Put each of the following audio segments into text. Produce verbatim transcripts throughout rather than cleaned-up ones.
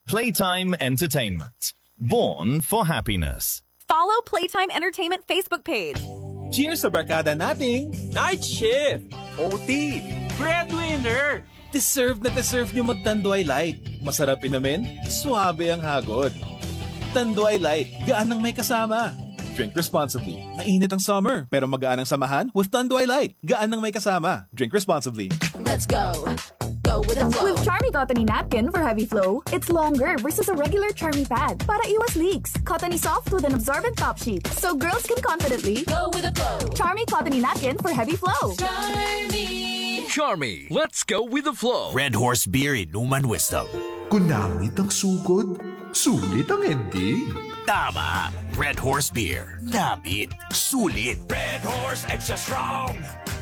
Playtime Entertainment. Born for happiness. Follow Playtime Entertainment Facebook page. Cheers sa barkada nating night shift, O T, breadwinner. Deserve na deserve nyo mag-Tanduay Light. Masarap inumin, suabe ang hagod. Tanduay Light, gaan ang may kasama. Drink responsibly. Mainit ang summer, pero magaan ang samahan with Tanduay Light. Gaan ang may kasama. Drink responsibly. Let's go. Go with the flow. With Charmy Cottony Napkin for heavy flow, it's longer versus a regular Charmy pad para iwas leaks. Cottony soft with an absorbent top sheet, so girls can confidently go with the flow. Charmy Cottony Napkin for heavy flow. Charmy. Charmy, let's go with the flow. Red Horse Beer, inuman wisdom. Kung namit ang sugod, sulit ang ending. Tama. Red Horse Beer. Namit. Sulit. Red Horse Extra Strong.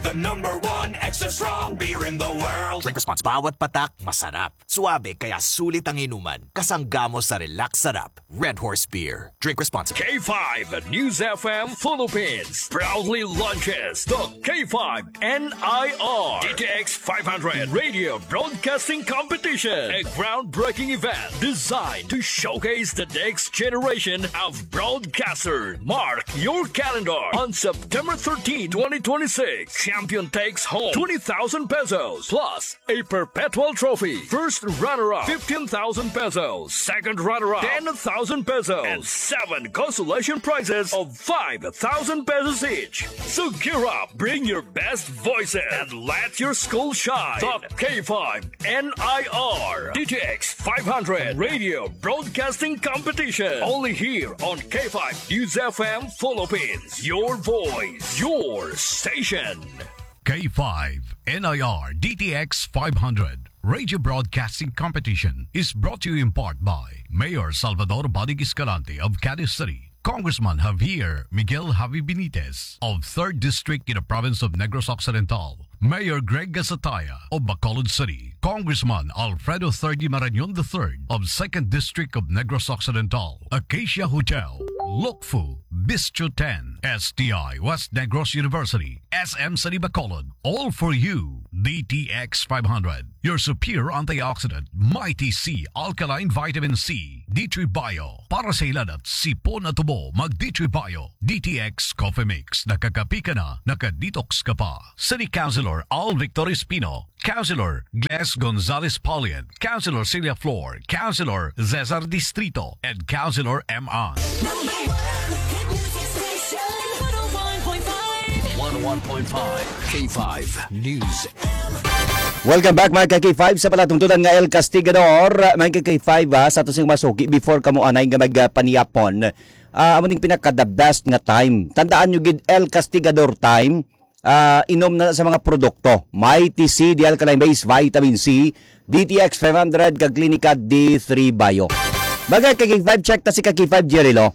The number one extra strong beer in the world. Drink response. Bawat patak, masarap. Suabe, kaya sulit ang inuman. Kasangga mo sa relax sarap. Red Horse Beer. Drink responsibly. K five News F M Philippines proudly launches the K five N I R D T X five hundred Radio Broadcasting Competition, a groundbreaking event designed to showcase the next generation of broadcaster. Mark your calendar on September thirteenth, twenty twenty-six. Champion takes home twenty thousand pesos plus a perpetual trophy. First runner-up, fifteen thousand pesos. Second runner-up, ten thousand pesos. And seven consolation prizes of five thousand pesos each. So gear up, bring your best voices, and let your school shine. The K five N I R D T X five hundred Radio Broadcasting Competition. Only here on K five News F M Philippines. Your voice, your station. K five N I R D T X five hundred Radio Broadcasting Competition is brought to you in part by Mayor Salvador Bodig Escalante of Cadiz City, Congressman Javier Miguel Javi Benitez of third District in the province of Negros Occidental, Mayor Greg Gasataya of Bacolod City, Congressman Alfredo Third Marañon the third of second District of Negros Occidental, Acacia Hotel, Lokfu, Bistro ten, S T I West Negros University, S M City Bacolod, all for you. D T X five hundred, your superior antioxidant, Mighty C alkaline vitamin C, D three Bio, para sa hilanat, sipon at ubo, mag D three Bio, D T X Coffee Mix, nakakapi ka na, naka-detox ka pa. City Councilor Al Victor Espino, Councilor Gles Gonzalez Paulian, Councilor Celia Flor, Councilor Cesar Distrito, and Councilor M. An. Number one hit music station, one oh one point five. One oh one point five K five News. Welcome back, mga ka-K five, sa palatungtunan nga El Castigador. Mga ka-K five, ha, sa ato sing masuki, before kamo anay nga magpaniyapon, ah, amo ning pinaka the best nga time. Tandaan nyo gid, El Castigador time. Ah, inom na sa mga produkto. Mighty C, the alkaline base, vitamin C, D T X five hundred, kag Klinika D three Bio. Mga ka-K five, check ta si ka-K five Jerry Lo.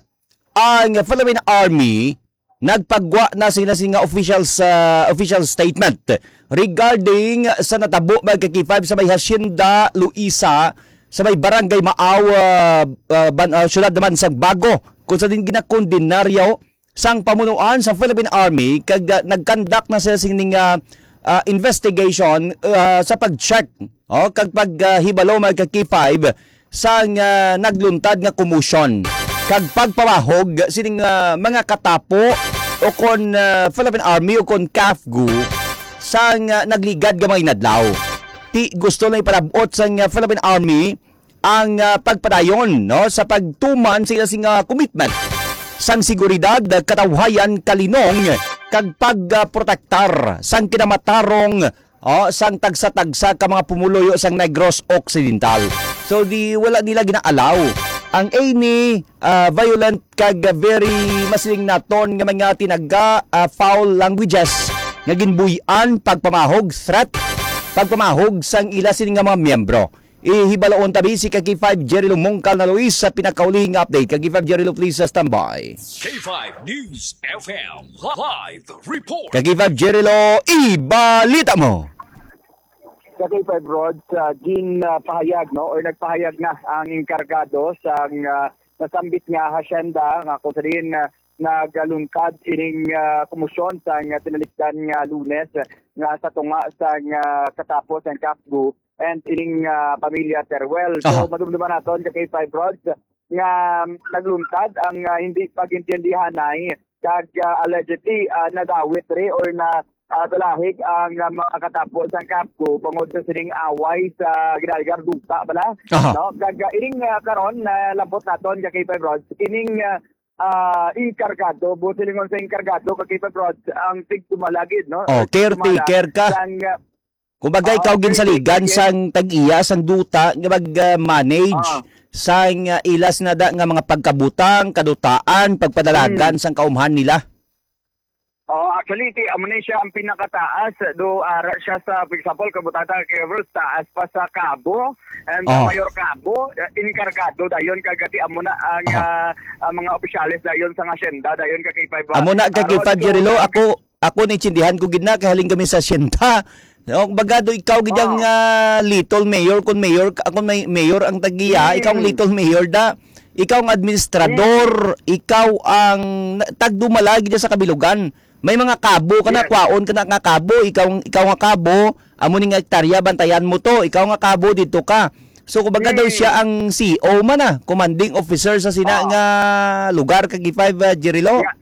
Ang Philippine Army nagpagwa na sila sing official sa official statement regarding sa natabo, mga ka-K five, sa may Hacienda Luisa, sa may Barangay Maaw, ah, ah, ban-, ah, siyudad naman sa Bago, kung sa din ginakondenaryo sang pamunuan sa Philippine Army, kag, ah, nag-conduct na sila sining, ah, ah, investigation, ah, sa pag-check, oh, kag pag, ah, hibalo, mga ka-K five, sang, ah, nagluntad nga komosyon kag pagpamahog sining, ah, mga katapo o kon, ah, Philippine Army o kon CAFGU sang, ah, nagligad nga mga inadlaw. Ti gusto na ipalabot sang, ah, Philippine Army ang, ah, pagpadayon, no, sa pagtuman sa ila sing, ah, commitment sang seguridad, katawhayan, kalinong, kag pagprotektar sang kinamatarong, oh, sang tagsa-tagsa ka mga pumuluyo sang Negros Occidental. So, di wala nila ginaalaw ang any, ah, violent kag very masiling naton nga mga tinaga, ah, foul languages nga ginbuy-an, pagpamahog, threat, pagpamahog sang ila sini nga mga miyembro. Ihibaloon tabi si ka-K five Jerry Lumungkal na Luis sa pinakaulihing update. Ka-K five Jerry Lo, please, uh, standby. K five News F M live report. Ka-K five Jerry Lo, ibalita mo. Ka-K five Rod, sa gin, uh, pahayag, no, or nagpahayag na ang enkargado sa, uh, nasambit nga hacienda nga kung sa diin, uh, nagalungkad ining, uh, komosyon sa nga tinalikdan nga Lunes nga sa tunga sa nga katapos ang CAFGU and ining, ah, pamilya Teruel. So, Aha. madumduman naton ka K five Rods nga nagluntad ang, ah, hindi pag-intindihanay kag, ah, allegedly, ah, nadawit re or na, ah, talahig ang, ah, mga katapo sang CAFGU bangod sa sining away sa ginaaligar duta bala, Aha. no? Kag, ah, ining, ah, karon, nalabot naton ka K five Rods, ining, ah, ah, enkargado, buot silingon sa enkargado ka K five Rods, ang tigdumala gid, no? Oh, Tigdumala caretaker ka. sang, ah, Kumbaga, Oo, ikaw caretaker ginsaligan gid. sang tag-iya, sang duta nga mag, ah, manage Oo. sang, ah, ilas na da nga mga pagkabutang, kadutaan, pagpadalagan Mm. sang kaumhan nila. Oo, actually, ti, amo ni siya ang pinakataas. Do, ara siya sa, for example, kabutata kay Ros, taas pa sa CAFGU, and, ah, Oh. Mayor CAFGU, eh, enkargado dayon kag ti amo na ang, Oh. ah, ang mga opisyales dayon sa hacienda, dayon ka K five, ah, Amo na ka K five, Ron, so, Jerry Lo, ang ako, ako naintindihan ko gid na, kay halin kami sa hacienda. No, baga do ikaw gid ang, Oh. ah, little mayor, kung mayor ka, kung may mayor ang tag-iya, ikaw ang Mm. little mayor da. Ikaw ang administrador, Mm. ikaw ang na-, tagdumala gid sa kabilugan. May mga kabo ka na, Yes. kwaon ka na nga kabo, ikaw, ikaw nga kabo, amo ni nga hektarya, bantayan mo to, ikaw nga kabo, dito ka. So, kumbaga daw Mm. siya ang C O man, ah, commanding officer sa sina Ah. nga lugar, ka K five, ah, Jerry Lo? Yeah.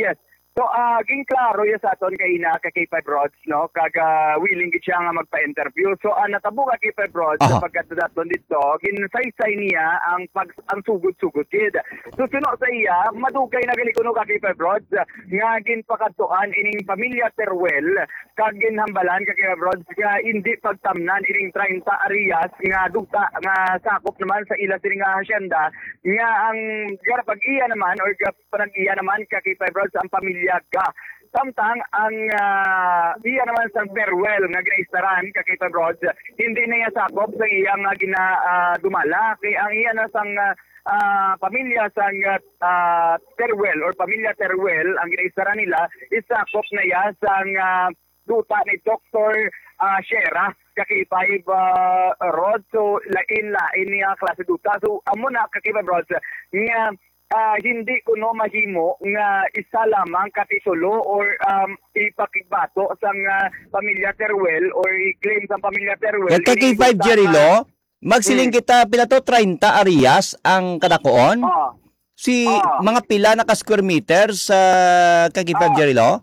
Yes. So, ah, ginklaro ya sa aton kaina ka K five Rods, no? Kag, ah, willing gid siya nga magpa-interview. So, ah, natabo ka K five Rods, Aha. sa pagkadto naton dito, ginsaysay niya ang pag-, ang sugod-sugod gid. So, suno sa iya, madugay na gali kuno ka K five Rods nga ginpakadtuan ining pamilya Teruel, kag ginhambalan ka K five Rods nga hindi pagtamnan ining treinta areas nga duta nga sakop naman sa ila sini nga hacienda, nga ang garapag-iya naman or ga-, panag-iya naman ka K five Rods ang pamilya Ga. Samtang ang, ah, iya naman sang Teruel nga ginaistaran ka K five Rods, hindi na iya sakop sa iya nga gina-, ah, dumala. Kay ang iya na sang, ah, ah, pamilya sang, ah, ah, Teruel or pamilya Teruel, ang ginaistaran nila is sakop na iya sang, ah, duta ni Doktor, ah, Shera ka K five, ah, Rods. So, lain-lain niya klase duta. So, amo na ka K five Rods nga ah, hindi kuno mahimo nga isa lamang ka titulo or, um, ipakigbato sang, ah, pamilya Teruel or i-claim sang pamilya Teruel. Kay ka K five, Jerry Lo, magsiling Hmm. kita, pila to, treinta areas ang kadakuon? Oo. Si Oo. mga pila na ka square meters, ah, ka K five, Oo. Jerry Lo?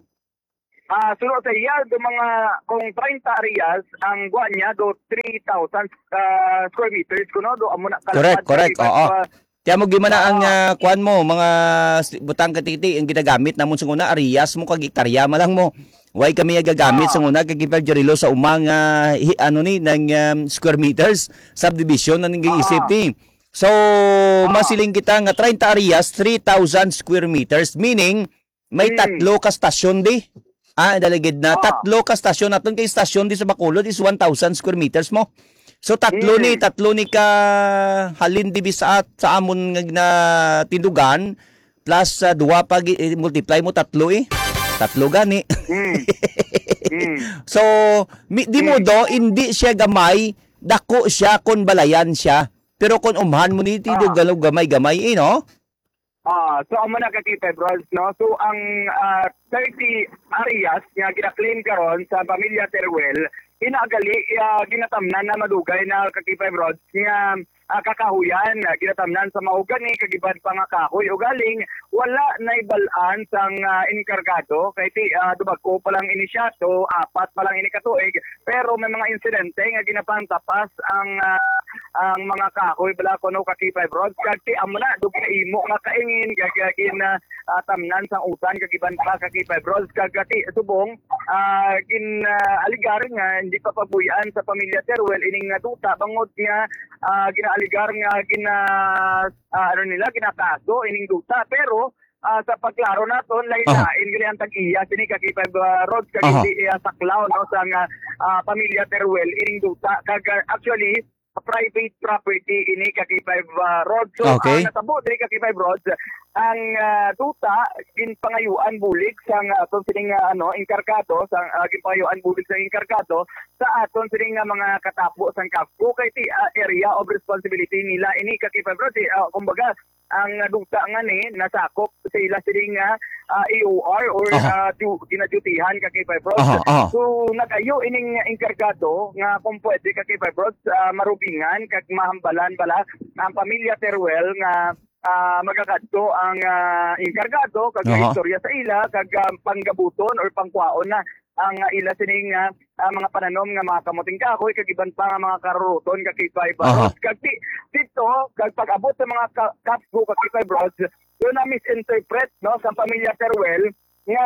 Ah, suno sa iya, do mga, kung treinta areas, ang kuan niya, do three thousand, ah, square meters, kuno, do amo na Correct, kalapad correct, sa oo. iba't, ah, Kaya mo gimana ang, ah, ah, kuan mo, mga s-, butang katiti, ang ginagamit namon sa una, areas mo, kag hektarya man lang mo. Why kami nagagamit sa Ah. una, kag Iper Jarilo sa umang, ah, hi-, ano ni, ng, um, square meters, subdivision na nang Ah. giisip ni. So, Ah. masiling kita nga treinta areas, three thousand square meters, meaning, may Hmm. tatlo ka stasyon di. Ah, daligid na. Ah. Tatlo ka stasyon. Aton kay stasyon di sa Bacolod is one thousand square meters mo. So, tatlo ni, Hmm. tatlo ni ka halin di sa, sa amon nga ginatindugan, plus, ah, duwa pa, gi-, i-multiply mo, tatlo eh. Tatlo gani. Hmm. Hmm. So, mi-, di mo Hmm. do, hindi siya gamay, dako siya kon balayan siya. Pero kon umhan mo ni, ti do Ah. galo gamay-gamay eh, no? Ah, so amo na ka K five Rods, no? So ang, ah, thirty areas nga gina-claim karon sa pamilya Teruel, ina gali, ah, ginatamnan na madugay na ka K five Rods nga, ah, kakahuyan, ah, ginatamnan sa mahogani kag iban pa nga kahoy. Ugaling wala na'y bal-an sang, ah, enkargado kay ti, ah, dubag-o pa lang ini siya, so apat pa lang ini ka tuig, pero may mga insidente nga ginapantapas ang, ah, ang mga kahoy bala kuno ka K five Rods, kag ti amo na dugay imo nga kaingin kag, ah, gin, ah, ah, tamnan sang utan kag iban pa ka K five Rods, kag, ah, ti subong, ah, gin, ah, aligar nga hindi pa pabuy-an sa pamilya Teruel ining, ah, duta bangod nga, ah, ginaaligar nga gina-, ah, ano nila, ginakaso ining duta, pero ah, sa pagklaro naton, lain-lain Aha. gali ang tag-iya sini ka K five, ah, Rods, kag Aha. hindi iya saklaw, no, sa nga, ah, pamilya Teruel ining duta. Kag, ah, actually, private property ini ka K five, ah, Rods. So, Okay. ah, natabo diri ka K five Rods, ang, ah, duta ginpangayuan bulig sa nga aton sining, ah, ano, enkargado, sa, ah, ginpangayuan bulig sa enkargado sa aton sining nga mga katapo sang CAFGU kay ti, ah, area of responsibility nila ini ka K five Rods. Eh, ah, kumbaga, ang duta nga ni nasakop sa ila sining, ah, ah, A O R or, Aha. ah, du-, ginadyutihan ka kay Fibros. Aha, aha. So, nag-ayo ining enkargado nga kung pwede ka kay Fibros, ah, marubingan kag mahambalan bala ang pamilya Teruel nga, ah, magakadto ang, ah, enkargado kag Aha. istorya sa ila kag, ah, panggabuton or pangkwaon na ang, ah, ila sining, ah, ah, mga pananom nga mga kamuting kahoy kag iban pa nga mga karuruton ka kay Fibros. Aha. Kag di-, dito, kag pag-abot sa mga ka-, kapgo ka kay Fibros, doon na misinterpret, no, sa pamilya Teruel nga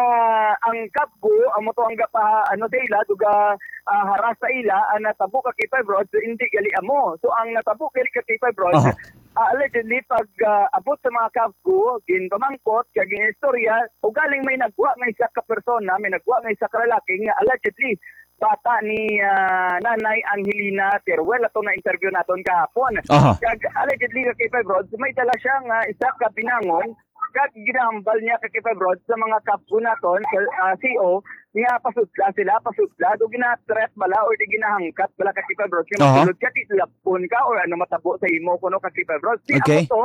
ang kapgo, amo to ang gapa-, ano sa ila, duga, ah, haras sa ila, ang natabo ka kay Fibros, hindi gali amo. So, ang natabo gali ka kay Fibros, Aha. ah, allegedly, pag, ah, abot sa mga kapgo, ginpamangkot, kag ginistorya, ugaling may nagwa nga isa ka persona, may nagwa nga isa ka lalaki nga allegedly bata ni, ah, Nanay Angelina Teruel, ato na interview naton kahapon. Aha. Kag allegedly nga kay Fibros, may dala siya nga isa ka binangon, kag ginahambal niya ka kay Fibros sa mga kapgo naton sa, ah, C O nga pasudla sila, pasudla, do gina-threat bala or di ginahangkat bala ka kay Fibros nga Aha. masulod ka, tilapon ka or ano matabo sa imo kuno ka kay Fibros. Di Okay. ako to,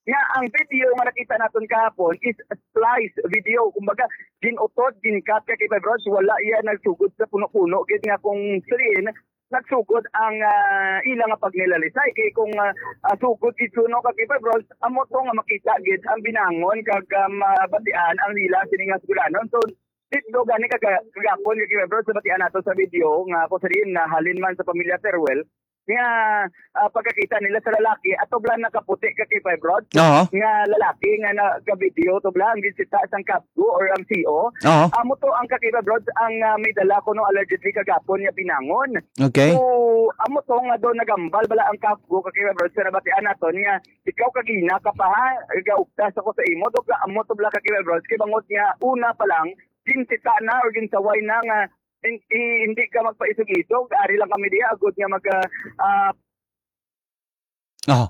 nga ang video nga nakita naton kahapon is splice video. Kumbaga, ginutod, ginkat ka kay Fibros, wala iya nagsugod sa puno-puno. Gid nga kung siliin, nagsugod ang, ah, ila nga pagnilalisay. Kay kung, ah, ah, sugod gid kuno ka kay Fibros, amo to nga makita gid ang binangon kag, ah, mabatian ang ila sini nga sugulanon. So, dito gani kaga-, kagapon kay Fibros, sa batian nato sa video nga kung siliin na halin man sa pamilya Teruel, nga, ah, pagkakita nila sa lalaki, ato bala nakaputi ka kay Fibros, Oo. nga lalaki nga nagavideo to bala ang ginsita sang kapgo or ang C O. Oo. Amo to ang ka kay Fibros ang, ah, may dala kuno allegedly kagapon nga binangon. Okay. So, amo to nga do nagambal bala ang kapgo ka kay Fibros sa nabatian naton nga ikaw kagina ka pa ha, gaugtas ako sa imo, do ka amo to bala ka kay Fibros, kay bangod nga una pa lang, ginsita na or ginsaway na nga hin-, i-, hindi ka magpaisog-isog, ari lang kami diha, agud nga mag, ah, ah, Oh.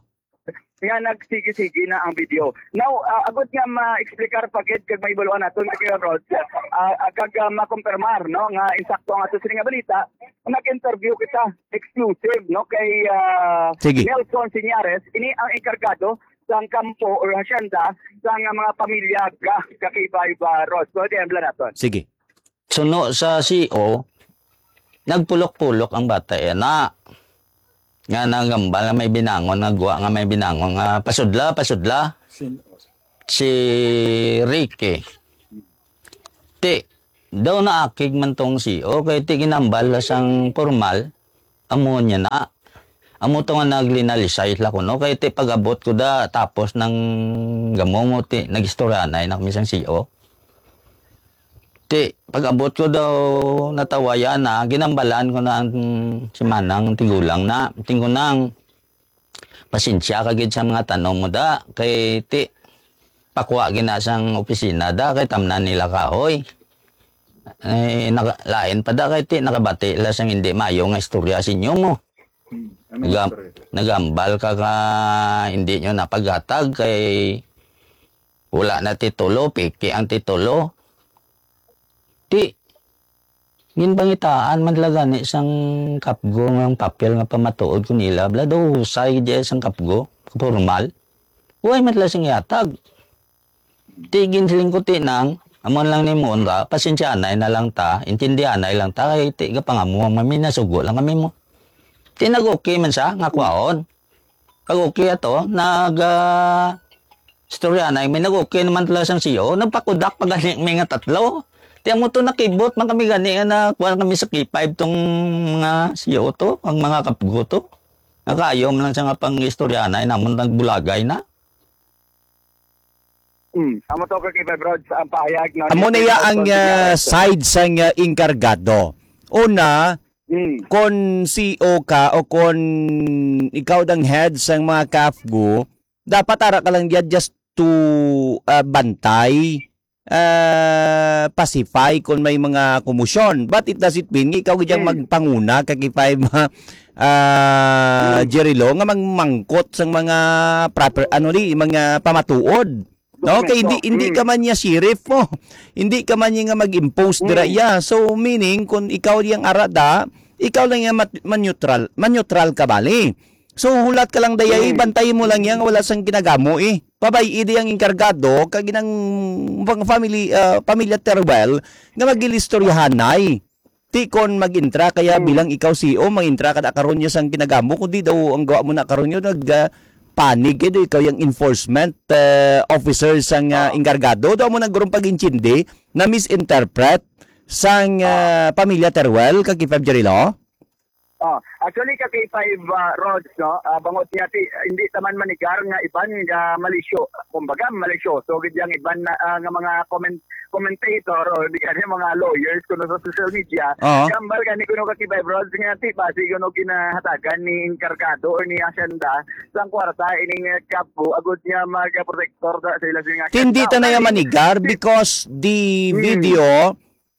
nga nagsige-sige na ang video. Now, ah, agud nga ma-explicar pa gid kag maibaluan naton, Kuya Rod, ah, ah, kag, ah, makumpirmar, no, nga insakto ang ato sini nga balita, nag-interview kita exclusive, no, kay, ah, Sige. Nelson Siñares, ini ang enkargado sang kampo or hacienda sang mga pamilya ka, ka kay Viva Rod. So, di, ambla naton. Sige. Suno sa C O, nagpulok-pulok ang bata yana. Nga nagambal nga may binangon, nga gwa nga may binangon, nga pasudla, pasudla. Sin-, Si Ricky. Ti, daw naakig man tong C O, kay ti ginambal la sang formal, amo niya na. Amo to nga naglinalisay la kuno, kay ti pag-abot ko da, tapos nang gamo mo, ti, nag-istoryanay na kami sang C O. Ti, pag-abot ko daw natawayan na, ginambalan ko na ang si Manang tigulang na, tingko nang, "Pasensya ka gid sa mga tanong mo da, kay ti, pakwa gid na sang opisina da, kay tamnan nila kahoy." Eh, naka-, lain pa da, kay ti, nakabati la sang hindi maayo nga istorya sa inyo mo. Hmm, ano Nagam-, istorya? Nagambal ka ka hindi nyo napaghatag, kay wala na titulo, peke ang titulo. Ti, ginpangitaan man la gani sang kapgo nga ang papel nga pamatuod ko nila, bala daw husay gid sang kapgo, formal. Way man la sing ihatag. Ti, ginsiling ko, ti nang, amo lang nimo ra, pasensyaanay na lang ta, intindihanay lang ta, kay ti, gapangamuha man mi, nasugo lang kami mo. Ti, nag-okay man siya, nga kwaon. Kag okay ato, nag, ah, istorya na, may nag-okay naman tala sang C O, nagpakudak pa gani mi nga tatlo. Ti amo to, nakibot man kami gani nga na, kuwan kami sa K five tong mga C O to, ang mga kapgo to. Nakaayo man lang siya nga pang istorya na, namon nagbulagay na. Hmm, amo to ka kay Fibroids, ang pahayag, no, Amo ni na iya ang, Nelson ah, Señales. Side sang, ah, enkargado. Una, Hmm. kon C O ka o kon ikaw dang head sang mga kapgo, dapat ara ka lang diyan just to, ah, bantay, ah, pacify kon may mga komosyon. But it doesn't mean nga ikaw gid ang Hmm. magpanguna, ka K five, ah, Hmm. Jerry Lo, nga magmangkot sang mga proper, ano ni, mga pamatuod. No, kay hindi, Dokumento. hindi Mm. ka man niya sheriff mo. Hindi ka man niya nga mag-impose dira Mm. iya. So, meaning, kung ikaw yang arada, ikaw lang yang mat-, man-neutral, man-neutral ka bali. So, hulat ka lang, dayay, Mm. bantayi mo lang yan, wala sang ginagamo, eh. Pabay-i di ang enkargado, kag ginang mga family, ah, pamilya Teruel, nga mag-ilistoryahanay. Ti kon mag-intra kaya Mm. bilang ikaw C E O, mag-intra ka na karon niya sang ginagamo, kundi daw ang gawa mo na karon niya, nag, ah, panig, eh, daw ikaw yung enforcement, ah, officer sang, ah, Ah. enkargado. Daw mo na gurong pag-intindi, na misinterpret sang, ah, pamilya Teruel, kag K five Jerilo? Oh, actually, ka K five, ah, Rods, no? Ah, bangod niya, ti, hindi taman manigar nga iban nga malisyo, kumbaga, malisyoso gid yang iban na, ah, nga mga comment, commentator o di kaya mga lawyers kuno sa social media. Oo. Gambal gani kuno ka K five Rods nga ti basi kuno ginahatagan ni enkargado or ni Hacienda sang kwarta ining, eh, Capco agud niya magaprotektor sa, sa ila nga Hindi ta na yan manigar because the Hmm. video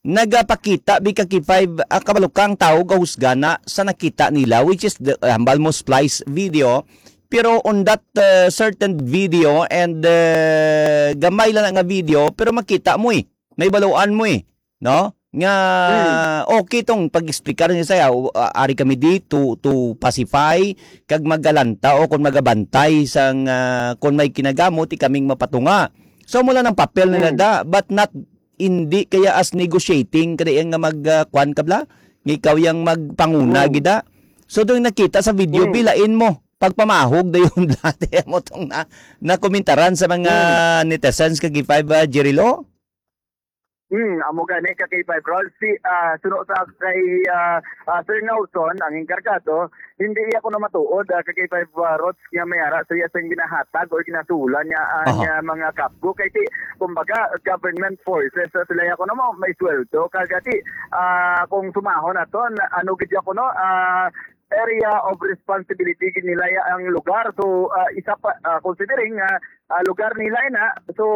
nagapakita bi ka K five, ah, kabalo ka ang tao gahusga na sa nakita nila, which is the, ah, hambal mo splice video. Pero on that, uh, certain video and, uh, gamay lang na nga video, pero makita mo eh. May baluan mo eh. No? Nga, Hmm. okay tong pag-explicar niya saya, uh, ari kami di to, to pacify, kag magalanta o kung magabantay sang, uh, kung may kinagamot, ikaming mapatunga. So, mula ng papel nila Hmm. da, but not, hindi kaya as negotiating, kada yang nga mag, uh, kwan ka bla? Nga ikaw yang magpanguna Hmm. gida. So, doon nakita sa video, Hmm. bilain mo. Pagpamahog dayon dati mo tong na, nakomentaran sa mga Hmm. netizens kag K five, uh, Jerilo? Hmm, amo gani ka K five Rods. Si, ah, suno sa kay, ah, ah, Sir Nelson, ang enkargado, hindi iya kuno matuod, ah, ka K five, ah, Rods nga may ara sa iya sing ginahatag or ginasulan niya ang, Aha. ah, mga Capco. Kay ti, kumbaga, government forces sa sila iya kuno mo, may sweldo. Kagati, ah, kung sumahon naton, ano gid iya kuno, ah, area of responsibility gid nila ya ang lugar. So, ah, isa pa, ah, considering nga, ah, lugar nila ina, so,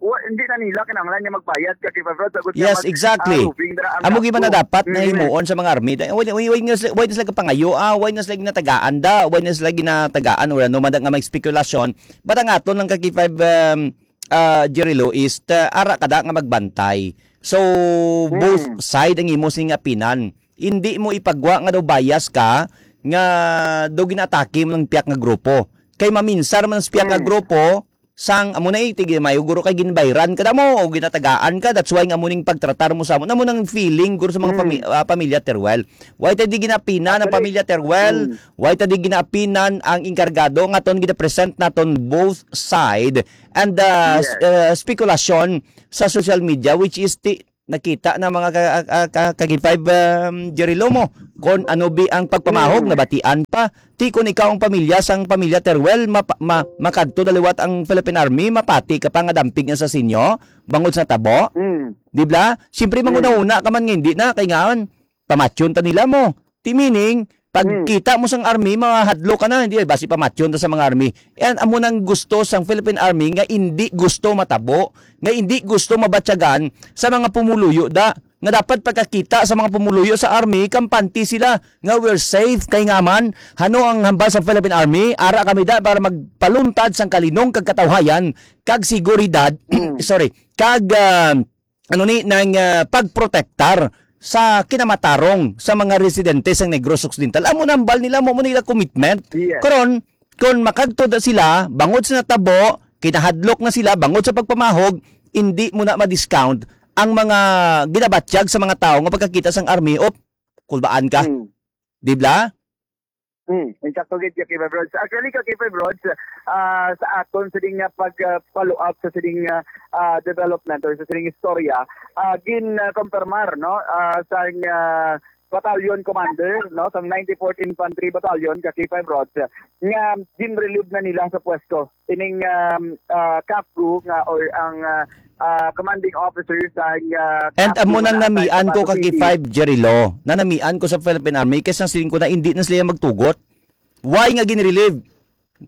wa-, hindi na nila kinahanglan nga magbayad ka K five Rods, agud nga Yes, mag-, exactly. ah, roving dira ang Amo gyud man na Capco. dapat na Mm. himuon sa mga army. Why, why, why na sila, why na sila kapangayo? Ah, why na sila ginatagaan da? Why na sila ginatagaan? Wala no man da nga may spekulasyon. But ang aton lang ka K five, um, ah, Jerry Lo, is ta-, ara ka da nga magbantay. So, both Hmm. side ang imo sing apinan. Hindi mo ipagwa nga daw bias ka, nga daw ginaatake mo ng piyak nga grupo. Kay maminsar man sa piyak nga Hmm. grupo, sang amo na eh, tig-, may guro kay ginbayran ka na mo o ginatagaan ka, that's why nga mo ning pagtratar mo sa amo. Na mo nang feeling, guro sa mga Hmm. pami-, ah, pamilya Teruel. Why ta di ginapinan ang Actually, pamilya Teruel? Hmm. Why ta di ginapinan ang enkargado nga aton ginapresent naton both side and, ah, s-, Yes. ah, spekulasyon sa social media, which is ti-, nakita na mga ka-, ka-, ka-, ka K five, um, Jerry Lo mo, kung ano bi ang pagpamahog, Mm. nabatian pa. Ti kung ikaw ang pamilya sang pamilya Teruel, mapa-, ma-, makadto na liwat ang Philippine Army, mapati ka pa nga dampig nga sa sinyo, bangod sa tabo. Mm. Di ba? Siyempre, Mm. manghunahuna ka man nga hindi na, kay ngaan, pamatyon ta nila mo. Ti meaning, pag Mm. kita mo sang army, mahadlok ka na, hindi, basi pamatyon ta sa mga army. And amo nang gusto sang Philippine Army nga hindi gusto matabo, nga hindi gusto mabatyagan sa mga pumuluyo da. Nga dapat pagkakita sa mga pumuluyo sa army, kampante sila nga we're safe, kay nga man, hano ang hambal sa Philippine Army, ara kami da para magpaluntad sang kalinong kag katawhayan, kag seguridad, Mm. sorry, kag, ah, ano ni, nang, ah, pagprotektar sa kinamatarong sa mga residente sa Negros Occidental. Amo nang hambal nila, mo, mo nila commitment. Yes. Karon, kung makagto na sila, bangod sa natabo, kinahadlok na sila, bangod sa pagpamahog, hindi mo na ma-discount ang mga ginabatyag sa mga tao nga pagkakita sang army, "Op, kulbaan ka." Mm. Di ba? Hmm, insakto gid ka K five Rods. Actually, ka K five Rods, ah, sa aton sining nga pag, ah, follow up sa sining, ah, ah, development or sa sining istorya, ah, gin, ah, kompirmar, no, ah, sang, ah, battalion commander, no, sang ninety-fourth Infantry Battalion ka K five Rods, nga gin-relieve na nila sa pwesto ining, um, ah, Capco nga or ang, ah, ah, commanding officer sa, ah, And Capco amo nang nga namian ko sa ka City. K five, Jerry Lo, na namian ko sa Philippine Army, kay sang siling ko na hindi na sila magtugot. Why nga gin-relieve?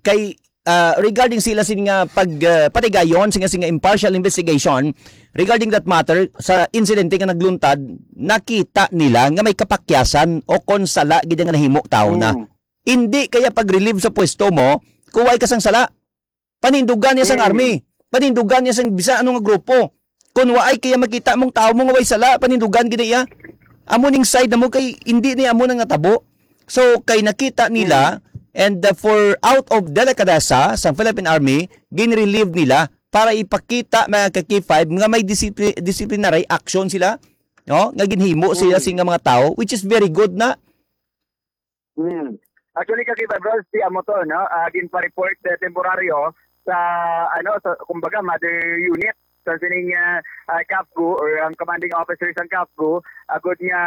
Kay, ah, regarding sila sin nga pag, ah, patigayon, singa, singa impartial investigation, regarding that matter, sa insidente nga nagluntad, nakita nila nga may kapakyasan o kon sala gid nga nahimo tao na. Mm. Hindi kaya pag-relieve sa pwesto mo, kuway ka sang sala. Panindugan niya sang Mm. army. Panindugan niya sang bisan ano nga grupo. Kung waay kaya makita mong tao mo nga way sala, panindugan gid iya. Amo ning side na mo kay hindi ni amo nang natabo. So, kay nakita nila, Mm. And, uh, for out of delikadesa sang Philippine Army, ginrelieve nila para ipakita, mga ka-K five, nga may disipli-, disciplinary action sila, no? Nga ginhimo sila Mm. sing mga tawo, which is very good na. Mm. Actually, ka-K five Rods, si amo to, no? Ah, ginpa-report, eh, temporaryo sa, ano, sa, kumbaga, mother unit sa sining, ah, ah, CAFGU or ang commanding officer sang CAFGU, agod nga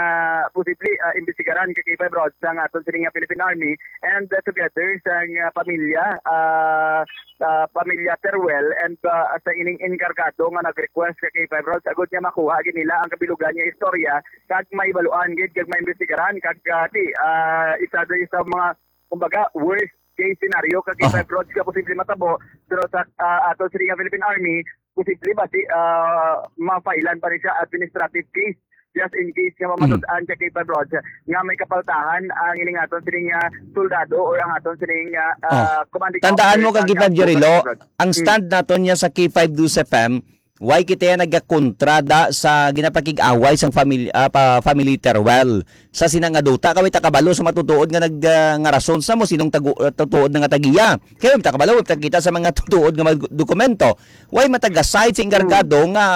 posible, ah, imbestigaran, ka-K five Rods, sang aton sining, ah, Philippine Army and, ah, together sang, ah, pamilya, ah, ah, pamilya Teruel and, ah, sa ining enkargado nga nag-request, ka-K five Rods, agod nga makuha gid nila ang kabilugan nga istorya kag maibaluan gid kag maimbestigaran kag, ah, ti, ah, isa diri sa mga, kumbaga, worst case scenario, ka-K five Rods, nga posible matabo, pero sa, ah, ato sa nga Philippine Army, posible ba si, ah, ma-filean pa rin siya administrative case just in case nga mamatud-an, ka-K five Rods, nga may kapaltahan ang ining aton sining, ah, soldado or ang aton sining, ah, Oh. ah, commanding Tandaan officer mo, sa ka-K five Jerry Lo, ka-K five Rods. ang Mm. stand naton niya sa K five News F M, why kita yan nagakontra da sa ginapakig-away sang family, ah, pa, family Teruel? Sa sina nga duta, kay way ta kabalo sa matutuod nga nag, ah, nga rason sa mo, sinong tagu-, ah, tutuod na nga tagiya. Kay way ta kabalo, way ta kita sa mga tutuod nga mag-, dokumento. Way mataga-side sa enkargado Mm. nga,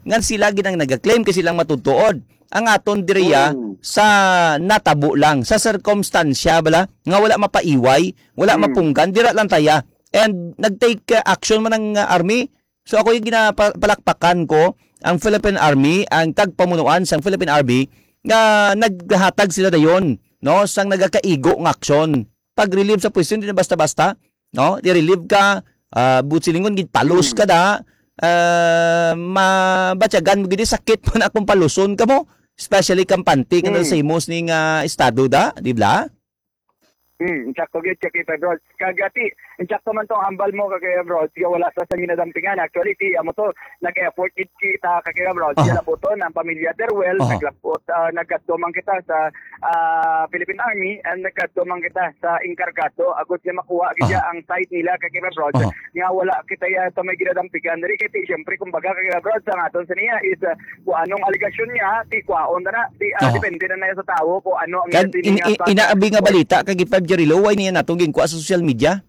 nga sila gid ang nag-claim kay silang matutuod. Ang aton diriya Mm. sa natabo lang, sa sirkumstansya bala, nga wala mapaiway, wala Mm. mapunggan, dira lang taya. And nag-take, ah, action man ang, ah, army. So ako yung ginapalakpakan ko, ang Philippine Army, ang tagpamunuan sang Philippine Army, nga naghatag sila dayon, no, sang nagakaigo nga aksyon. Pag-relieve sa pwesto, hindi na basta-basta, no? I-relieve ka, ah, buot silingon, ginpalos Hmm. ka da, ah, mabatyagan mo gid, sakit man akong paluson ka mo, especially kampante ka na Hmm. sa himos ning, ah, estado da, di ba? Hmm, insakto gid, ka-K five Rods. Kag, ah, ti, insakto man tong hambal mo, ka-K five Rods, nga wala sa sang ginadampingan. Actually, ti, amo to, nag-effort gid kita, ka-K five Rods. Aha. Ginabuton ang pamilya Teruel, Aha. naglapot, ah, nagkadto man kita sa, ah, Philippine Army, and nagkadto man kita sa enkargado, agod nga makuha gid Aha. ang side nila, ka-K five Rods, Aha. nga wala kita ya sa may ginadampingan. Diri kay, ti, siyempre, kumbaga, ka-K five Rods, ang aton sa niya is, ah, kung anong alegasyon niya, ti, kwaon na na, ti, ah, Aha. depende na na sa tawo kung ano ang Kag iyang in-, in-, sining, ah, inaabi nga balita, ka-K five Jerry Lo, why niya nato ginkuha sa social media?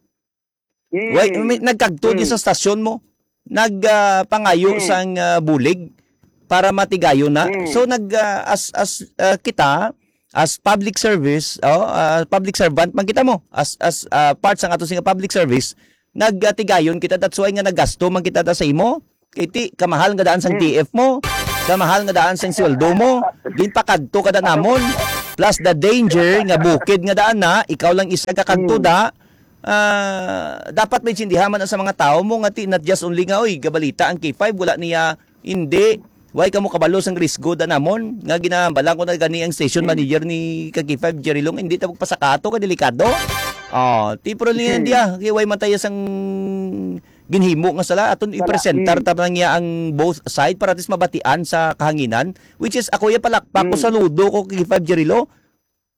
Hmm. Why, may, nagkagto di Hmm. sa stasyon mo? Nag, ah, pangayo Hmm. sang, ah, bulig para matigayon na. Hmm. So, nag, ah, as, as, ah, kita, as public service, oh, ah, public servant man kita mo, as, as, ah, part sang ato sing public service, nagatigayon kita. That's why nga naggasto man kita ta sa imo. Kay ti, kamahal nga daan sang Hmm. T F mo, kamahal nga daan sang sweldo mo, ginpakagto ka da namon. Plus the danger nga bukid nga daan na, ikaw lang isa ka kagto Hmm. da. Ah, dapat maintindihan man sa mga tawo mo nga ti, not just only nga, "Oy, gabalita ang K five, wala niya," hindi. Why kamo kabalo sang risgo da namon nga ginahambal ko na gani ang station Hmm. manager ni ka K five, Jerry Long, hindi ta magpasakato ka delikado. Oh, ti, pero niya Hmm. diya, kay why man tayo sang ginhimo nga sala, aton Sala. Ipresentar Mm. ta lang niya ang both side para at least mabatian sa kahanginan, which is ako ya palakpak ko, Mm. saludo ko kay Five Jerilo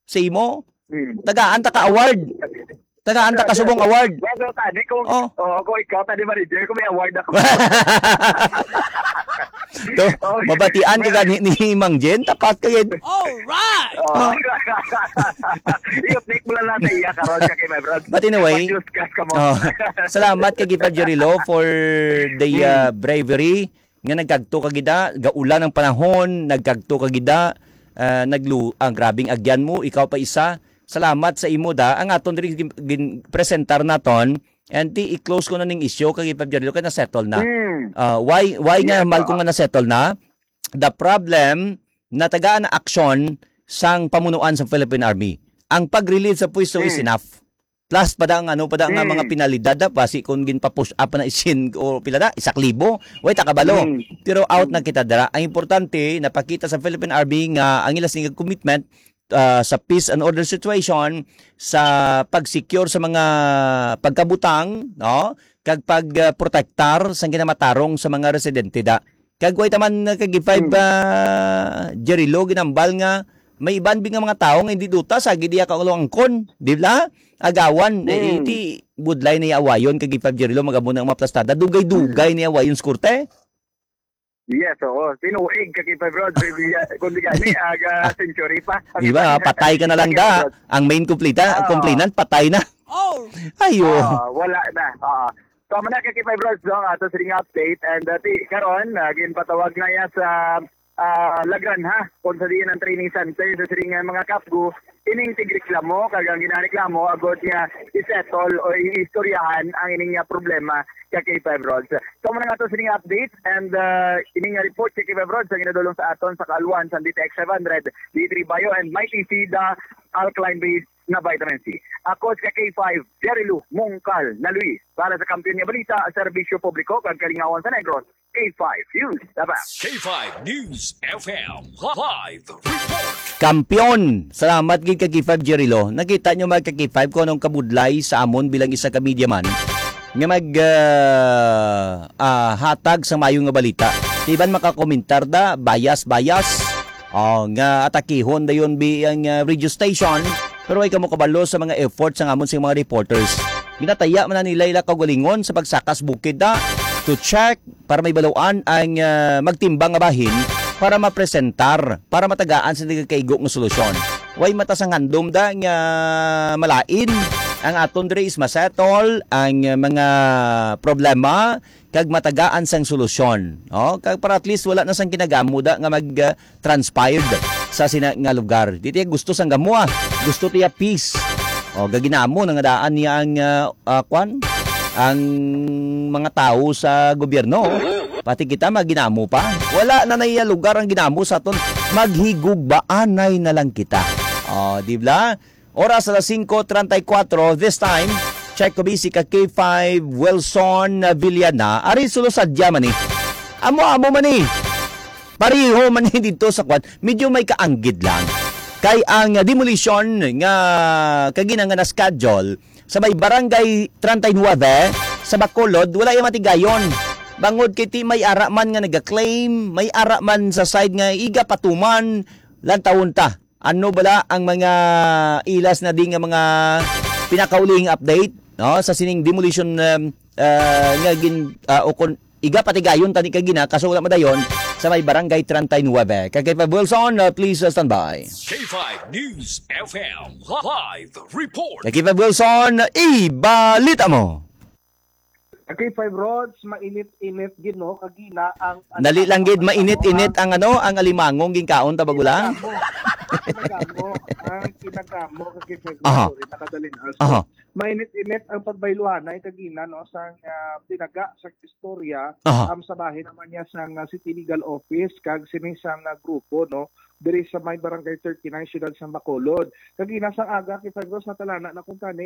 sa imo. Mm. Tagaan ta ka award. Tagaan ta ka subong award. Well, well, tani kung, Oh. oh, kung ikaw, tani manager, kung may award ako. To, Oh. mabatian ka gani ni Mang Jen, tapat ka gid. Alright! Oh. I-update mo lang natin iya karon siya kay my brad. But anyway, Mag-discuss ka mo. Oh. Salamat kay Gipa Jerilo for the, Hmm. uh, bravery nga nagkagto ka gida, gaulan ang panahon, nagkagto ka gida, uh, naglu-, ang grabing agyan mo, ikaw pa isa. Salamat sa imo da. Ang aton diri gin-, gin-, presentar naton, and ti i-close ko na ning issue kay Gipa Jerilo kay na-settle na. Hmm. Uh, why, why nga Yeah, mal ko oo. nga na-settle na? The problem, natagaan na aksyon sang pamunuan sa Philippine Army. Ang pag-relieve sa pwesto is Hmm. enough. Plus pa da ang ano pa da nga Hmm. mga penalidad da, basi kung ginpa-push up na isin o pila da, isa ka libo, way ta kabalo. Hmm. Pero out na Hmm. kita dira. Ang importante, napakita sa Philippine Army nga ang ila sing commitment, ah, sa peace and order situation, sa pag-secure sa mga pagkabutang, no? Kag pag, ah, protektar sa ginamatarong sa mga residente da. Kag way taman, uh, kag Five, Hmm. ah, Jerilo, ginambal nga may iban bi nga mga tawo nga hindi duta sa gid iya ka ulo angkon, di ba? Agawan, eh, Hmm. iti budlay ni awayon kag Five Jerilo, magabo na ang mga plastada, dugay-dugay Hmm. ni awayon sa korte. Yes, oo. Tinuig kag Five Rods, kung di gani, aga century pa. Di ba? Patay ka na lang da. Ang main kumplita, Oo. complainant, patay na. Oh! Ayo. Ah, wala na. Ah. So, amo na, ka K five Rods, no, ang ato sining update. And, uh, ti, karon, ah, ginpatawag na ya sa, ah, Lagran, ha? Kung sa diin ang training center sa sining, ah, mga kapgu, ining tigreklamo, kag ang ginareklamo, agod nga i-settle o i-istoryahan ang ining, ah, problema ka K five Rods. So, amo na nga ato sining update, and, ah, ining, ah, report ka K five Rods, ang ginadulong sa aton sa Kaalwan, sa D T X five hundred, D three Bio, and Mighty C, the alkaline base na vitamin C. Ako si K five, Jerry Lou Mongkal na Luis. Para sa Kampiyon nga Balita, Serbisyo Publiko kag Kalingawan sa Negros, K five News F M. K five News F M live report. Kampiyon! Salamat gid ka K five Jerry Lou. Nakita nyo, mga ka K five, kung anong kabudlay sa amon bilang isa ka media man nga mag, ah, ah, hatag sa mayo nga balita. Di ba makakomentar da, bias, bias? Oh, nga atakihon dayon bi ang, ah, radio station, pero ay kamo kabalo sa mga efforts sa amon sa mga reporters. Ginataya man na nila ila kaugalingon sa pagsakas bukid na to check para may baluan ang, ah, magtimbang nga bahin para mapresentar, para matagaan sa nagakaigo nga solusyon. Way mata sang handom da nga malain ang aton diri is masettle ang, ah, mga problema kag matagaan sang solusyon. Oh, kag para at least wala na sang kinagamo da nga mag, ah, transpired sa sina nga lugar. Di tiya gusto sang gamo, ah. Gusto tiya peace. O, gaginamo na nga daan niya ang, ah, ah, kwan? Ang mga tawo sa gobyerno. Pati kita maginamo pa. Wala na naiya lugar ang ginamo sa aton. Maghigugbaanay na lang kita. O, di ba? Oras alas singko treinta y cuatro. This time, check ko busy ka K five Wilson Villana. Ari sulo sadya man ni. Amo-amo man ni. Pareho man ni dito sa kwan. Medyo may kaanggid lang. Kay ang, ah, demolition nga kagina nga na-schedule sa may barangay treinta y nueve sa Bacolod, wala yung matigayon. Bangod kay ti may ara man nga nag-claim, may ara man sa side nga iga patuman, lantawon ta. Ano bala ang mga ilas na di nga mga pinakaulihing update, no, sa sining demolition, um, uh, nga gin, uh, o kon iga patigayon tani kagina, kaso wala madayon sa may barangay treinta y nueve. Kay K five Wilson, uh, please, uh, stand by. K five News F M live report. Kay K five Wilson, ibalita mo. K five Rods, mainit-init gid, no? Kagina ang Dali lang gid, mainit-init ang ano, ang alimangong ginkaon ta bagulang. Kinagamo. Kinagamo. Ang kinagamo, ka K five Rods, Aha. Sorry, nakadalin. Ah, so, Aha. Mainit-init ang pagbayluhanay kagina, no, sang, ah, tinaga, sang istorya, Aha. Um, sa bahin naman niya sang, ah, City Legal Office, kag sini sang, ah, grupo, no, diri sa may Barangay thirty-nine, Siyudad sang Bacolod. Kagina sang aga, K five Rods, natalana na kung tani,